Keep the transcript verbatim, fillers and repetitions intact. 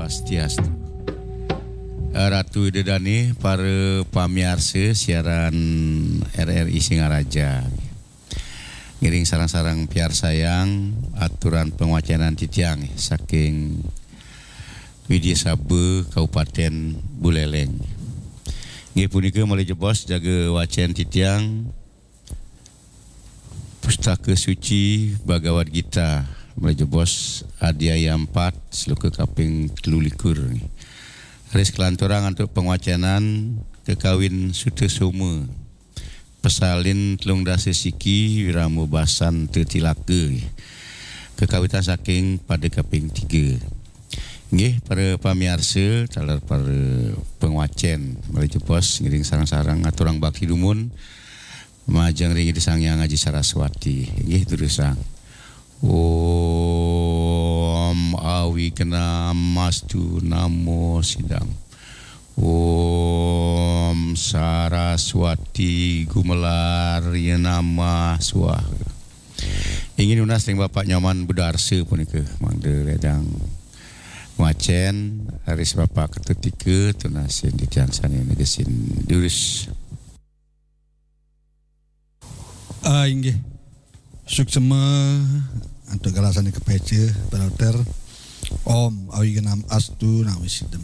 Swastiastu. Ratu Ida Dane, para pamiarsa siaran R R I Singaraja. Ngiring sareng-sareng piarsayang aturan pangwacenan titiang saking Widya Saba, Kabupaten Buleleng. Nggih, punika malih jebos jaga wacen titiang Pustaka Suci Bhagavad Gita, malih jebos adhyaya empat, sloka kaping telu likur. Ris kalanturang antuk pangwacenan kakawin Sutasoma, pasalin telung dasa siki, wirama basan tetilaka. Kakawitan saking pada kaping tiga. Nggih, para pamiarsa, taler para pangwacen, malih jebos ngiring sareng-sareng aturang bakti dumun majeng ring Ida Sang Hyang Aji Saraswati. Nggih, durusang. Om Awignam Astu Namo Sidam. Om Saraswati Gumelar Yenama Swaha. Inggih nunas ring Bapak Nyoman Budarsa punika, mangda ledang wacen, ris Bapak Ketutika, tunasin titiang sane negesin durus. Ah, inggih. Suksema antuk galah sane kapeca, Pak Dokter. Om Awignam Astu Namo Sidam.